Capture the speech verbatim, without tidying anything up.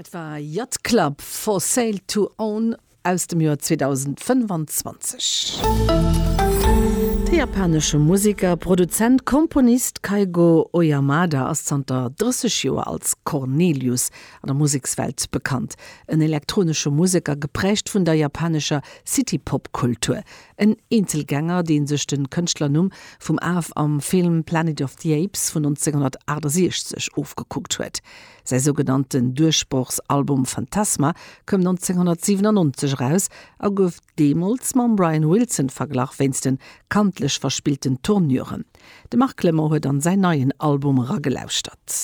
Dat war Yacht Club for Sale to Own aus dem Joer zweedausendfënnfanzwanzeg. De japanesche Museker, Produzent, Komponist Keigo Oyamada ass zanter drësseg Joer als Cornelius an der Musekswelt bekannt. En elektronesche Museker, gepräägt vun der japanescher City-Pop-Kultur. En Eenzelgänger, dee sech de Kënschtlernumm vum Af am Film Planet of the Apes vun nonzénghonnertaachtasechzeg ofgekuckt huet. Säi sougenannten Duerchbrochsalbum Phantasma koum nonzénghonnertsiwenannonzeg eraus a gouf deemools mam Brian Wilson verglach wéinst de kantlech verspillten Tournuren. De Marc Clement huet an säin neien Album eragelauschtert.